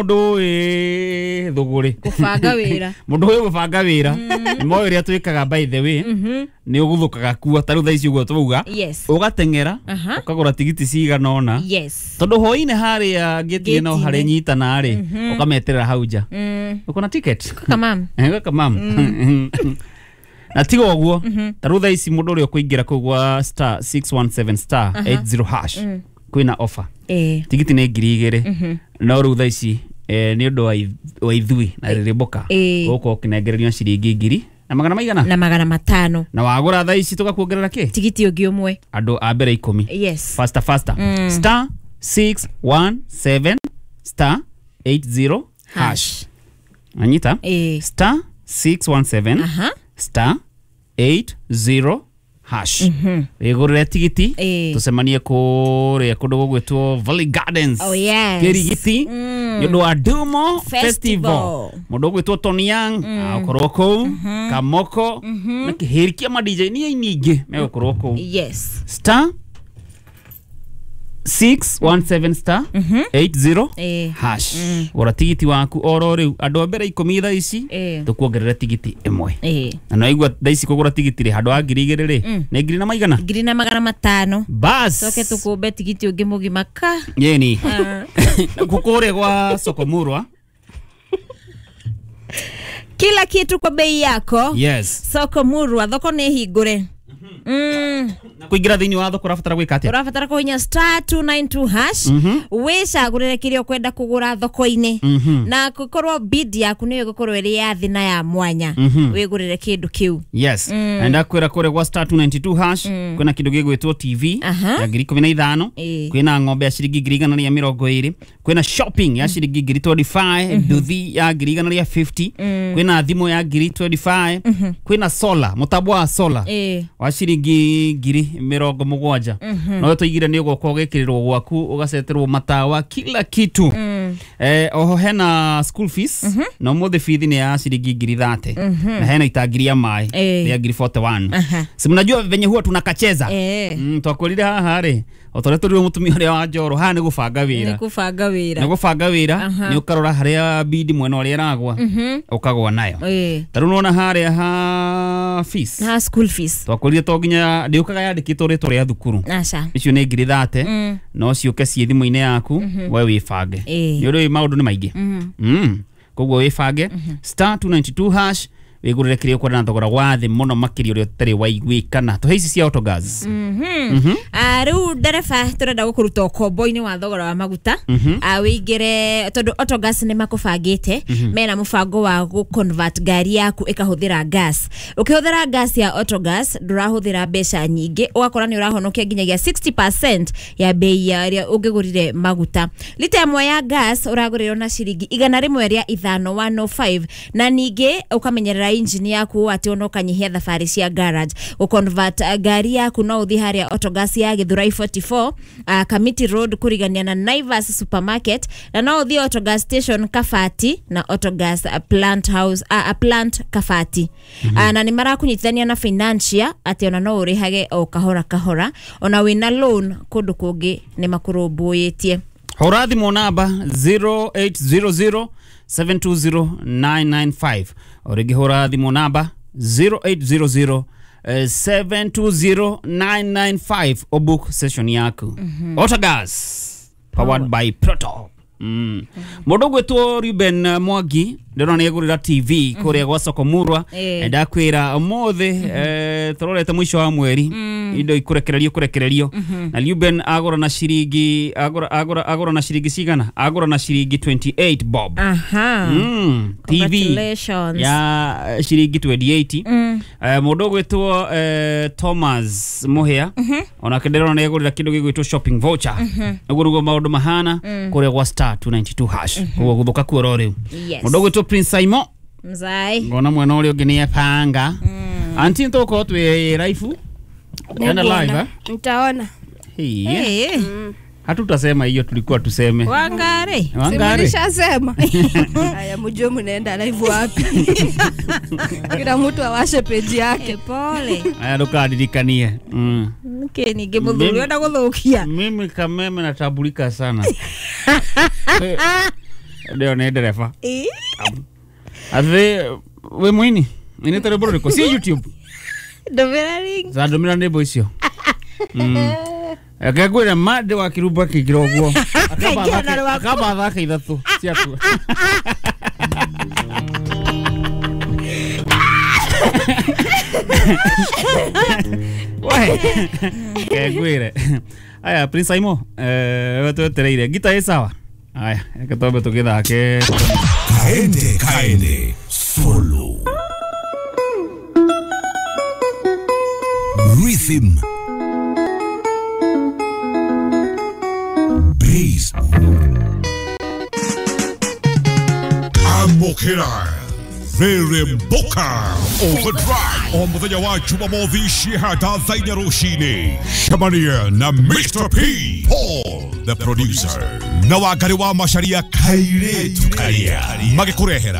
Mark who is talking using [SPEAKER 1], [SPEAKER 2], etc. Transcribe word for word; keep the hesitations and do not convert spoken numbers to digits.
[SPEAKER 1] Mundu wi thuguri
[SPEAKER 2] Kubanga wĩra.
[SPEAKER 1] Mundu uyu gubanga wira ni moĩ ũrĩa twĩkaga. By the way, nĩ ũguthũkaga kuo ta rĩu thaa ici ũguo twauga,
[SPEAKER 2] Yes.
[SPEAKER 1] ũgateng'era
[SPEAKER 2] Aha.
[SPEAKER 1] ũkagũra tigiti cigana ũna,
[SPEAKER 2] Yes.
[SPEAKER 1] tondũ hwainĩ harĩa gĩti-inĩ no
[SPEAKER 2] Gate-inĩ.
[SPEAKER 1] harĩa nyitana rĩ, ũkameterera hau nja.
[SPEAKER 2] Mm.
[SPEAKER 1] Uko na ticket?
[SPEAKER 2] Kamam.
[SPEAKER 1] Eh, gaka mam na tiga ũguo, ta rĩu thaa ici mũndũ ũrĩa ũkũingĩra kũu gwa star six one seven star eight zero hash kwĩna offer.
[SPEAKER 2] Eh.
[SPEAKER 1] Tigiti nĩ ngiri igĩrĩ, no rĩu thaa ici eh, nĩ ũndũ wa ith- wa ithuĩ na rĩrĩmbũka,
[SPEAKER 2] Eh.
[SPEAKER 1] ũgũkorwo ũkĩnengererio ciringi ngiri na magana maigana?
[SPEAKER 2] Na magana matano.
[SPEAKER 1] Na wagũra thaa ici tũgakuongerera kĩ?
[SPEAKER 2] Tigiti ũngĩ ũmwe.
[SPEAKER 1] Andũ a mbere ikũmi.
[SPEAKER 2] Yes.
[SPEAKER 1] Faster, faster, star six one seven star eight zero hash. Anyita?
[SPEAKER 2] Eh.
[SPEAKER 1] star six one seven
[SPEAKER 2] Aha.
[SPEAKER 1] star eight zero hash, wĩgũrĩre tigiti,
[SPEAKER 2] Eh.
[SPEAKER 1] tũcemanie kũrĩa kũndũ gũgwĩtwo Valley Gardens,
[SPEAKER 2] Oh, yes.
[SPEAKER 1] Kĩrigiti, nĩ ũndũ wa Dumo Festival.
[SPEAKER 2] Festival.
[SPEAKER 1] Mũndũ ũgwĩtwo Tony Young agũkorwo kũu, Kamoko na kĩhĩri kĩa ma D J nĩ aini aingĩ megũkorwo kũu.
[SPEAKER 2] Yes.
[SPEAKER 1] star six one seven star eight zero
[SPEAKER 2] Eh.
[SPEAKER 1] hash, gũra tigiti waku oro rĩu. Andũ a mbere ikũmi thaa ici,
[SPEAKER 2] Eh.
[SPEAKER 1] tũkuongerera tigiti ĩmwe.
[SPEAKER 2] Eh.
[SPEAKER 1] Na naigua thaa ici kũgũra tigiti rĩ, handũ ha ngiri igĩrĩ rĩ, nĩ ngiri na maigana?
[SPEAKER 2] Ngiri na magana matano.
[SPEAKER 1] Bas.
[SPEAKER 2] Coke tũkũmbe tigiti ũngĩ mũgima ka.
[SPEAKER 1] Yeni kũrĩa gwa Sokomurwa.
[SPEAKER 2] Kila kitu kwa bei yako.
[SPEAKER 1] Yes.
[SPEAKER 2] Soko Murwa, thoko nĩ hingũre. Mm.
[SPEAKER 1] Na kũingĩra thĩinĩ wa thoko ũrabatara gwĩka atĩa?
[SPEAKER 2] Ũrabatara kũhinya star two nine two hash, wĩcagũrĩre kĩrĩa ũkwenda kũgũra thoko-inĩ, na gũkorwo bid yaku nĩyo ĩgũkorwo ĩrĩ ya thĩ na ya mwanya, wĩgũrĩre kĩndũ kĩu.
[SPEAKER 1] Yes, na ndakwĩra kũrĩa gwa star two nine two hash kwĩna kĩndũ gĩgwĩtwo T V
[SPEAKER 2] Aha.
[SPEAKER 1] ya ngiri ikũmi na ithano,
[SPEAKER 2] Ĩĩ.
[SPEAKER 1] kwĩna ng'ombe ya ciringi ngiri igana rĩa mĩrongo ĩrĩ, kwĩna shopping ya ciringi ngiri mĩrongo ĩrĩ na ithano, nduthi ya ngiri igana rĩa mĩrongo ĩtano, kwĩna thimũ ya ngiri mĩrongo ĩrĩ na ithano, kwĩna solar, mũtambo wa solar
[SPEAKER 2] Ĩĩ.
[SPEAKER 1] wa ciringi ngiri mĩrongo mũgwanja. No tũigire nĩ ũgoka ũgekĩrĩrwo gwaku, ũgaceterwo matawa, kila kitu. eh, oho hena school fees, na ũmũthĩ bithi nĩ ya ciringi ngiri thate, na hena itangi rĩa maĩ
[SPEAKER 2] Eh.
[SPEAKER 1] rĩa ngiri mĩrongo ĩna na ĩmwe.
[SPEAKER 2] Aha.
[SPEAKER 1] Si mnajua venye huwa tunakacheza?
[SPEAKER 2] Eh.
[SPEAKER 1] mm, twakwĩrire haha rĩ, o ta ũrĩa tũrirwo mũtumia ũrĩa wa njoro haha, nĩ gũbanga
[SPEAKER 2] Nĩ
[SPEAKER 1] wĩra.
[SPEAKER 2] kũbanga wĩra.
[SPEAKER 1] Nĩ gũbanga wĩra.
[SPEAKER 2] Aha.
[SPEAKER 1] Nĩ ũkarora harĩa bidi mwena ũrĩa ĩragwa, ũkagwa nayo.
[SPEAKER 2] Ĩĩ.
[SPEAKER 1] Ta rĩu nĩwona harĩa ha fees,
[SPEAKER 2] Ha school fees.
[SPEAKER 1] twakwĩrire to nginya ndĩũkaga yandĩkĩtwo rĩtwa rĩa thukuru.
[SPEAKER 2] Aca.
[SPEAKER 1] Icio nĩ ngiri thate, no ciũke ciĩ thimũ-inĩ yaku, we wĩbange.
[SPEAKER 2] Ĩĩ.
[SPEAKER 1] Nĩ ũrĩ maũndũ nĩ maingĩ. Mm. koguo wĩbange, star two nine two hash, wĩgũrĩre kĩrĩa ũkwenda na thogora wa thĩ mũno makĩria ũrĩa ũtarĩ waiguĩkana. Tũhe ici cia Autogas.
[SPEAKER 2] Ah, rĩu ndereba, tũrenda gũkũruta ũkombo-inĩ wa thogora wa maguta. Ah, wĩingĩre tondũ Autogas nĩ makũbangĩte, mena mũbango wa gũ-convert ngari yaku ĩkahũthĩra gas. Ũkĩhũthĩra gas ya Autogas ndũrahũthĩra mbeca nyingĩ, ũgakora nĩ ũrahonokia nginyagia sixty percent ya bei ya ĩrĩa ũngĩgũrire maguta. Lita ĩmwe ya gas ũragũrĩrwo na ciringi igana rĩmwe rĩa ithano, one oh five, na ningĩ ũkamenyerera injini yaku atĩ ona ũkanyihia thabarĩ cia garage. Gũconvert uh, ngari yaku, no ũthiĩ harĩa Autogas ya Githurai forty-four, uh, Kamiti Road, kũrigania na Naivas Supermarket, na no ũthiĩ Autogas station Kabati na Autogas uh, plant house, uh, plant Kabati. mm -hmm. uh, na nĩ marakũnyitithania na financier atĩ ona no ũrĩhage o kahora kahora, ona wĩna loan kũndũ kũngĩ nĩ makũrũmbũyĩtie.
[SPEAKER 1] Hũra thimũ namba zero eight zero zero seven two zero nine nine five, o rĩngĩ hũra thimũ namba zero eight zero zero eh, seven two zero nine nine five, ũbook session yaku. Autogas, powered by Proto. Mm. Mũndũ ũgwĩtwo Ruben Mwangi ndĩrona nĩ agũrĩra T V kũrĩa gwa Soko Murwa.
[SPEAKER 2] Eh.
[SPEAKER 1] Ndakwĩra ũmũthĩ, eh, tũrorete mũico wa mweri, indo ikũrekererio kũrekererio, na Ruben agũra na ciringi agũra agũra agũra na ciringi cigana? Agũra na ciringi twenty-eight bob.
[SPEAKER 2] Aha.
[SPEAKER 1] Mm, T V
[SPEAKER 2] Congratulations.
[SPEAKER 1] ya ciringi mĩrongo ĩrĩ na nyanya. mm. eh, mũndũ ũgwĩtwo eh, Thomas Muhia onake ndĩrona nĩ agũrĩra kĩndũ gĩgwĩtwo shopping voucher. Ũguo nĩguo maũndũ mahana kũrĩa gwa star two nine two hash, koguo gũthũka kuo ro rĩu.
[SPEAKER 2] Yes.
[SPEAKER 1] Mũndũ ũgwĩtwo Prince Simon,
[SPEAKER 2] Mzai.
[SPEAKER 1] ngona mwena ũrĩa ũngĩ nĩ epanga. Anti, nĩtũgũkorwo twĩ live. Enda live, eh?
[SPEAKER 3] Nitaona.
[SPEAKER 1] Hey,
[SPEAKER 2] Hey.
[SPEAKER 1] hatutasema hiyo tulikuwa tuseme.
[SPEAKER 2] Wangari.
[SPEAKER 1] Wangari.
[SPEAKER 3] Nishasema. Haya, mjue mnaenda live wapi. Kila mtu awashe peji yake.
[SPEAKER 2] Pole.
[SPEAKER 1] Aya, ndũkandirikanie. mm.
[SPEAKER 2] Nĩkĩ ningĩ mũthuri enda gũthũkia?
[SPEAKER 1] Mimi Kameme natambulika sana. Eh, Ndio nĩ ndereba. Athe we mwini inĩte rwĩmbo rũrĩkũ si YouTube?
[SPEAKER 2] Ndũmĩra link.
[SPEAKER 1] Zandũmĩra nyĩmbo icio. Reke ngwĩre Mande wa Kirumba akĩingĩra ũguo
[SPEAKER 2] Akaingĩra na rwaku.
[SPEAKER 1] Akamba athake ithatũ ciaku. We reke ngwĩre aya Prince Aimo, eh, we twetereire ngita ĩ sawa. Aya reke twambe tũgĩthake
[SPEAKER 4] Kaende Kaende Solo Rhythm Bass Amokera Reremboka Overdrive o muthenya wa Jumamothi cihata thaa inya rũcinĩ. Cemania na Mister P Paul the producer na Wangari wa Macharia kairĩtu karia magĩkũrehera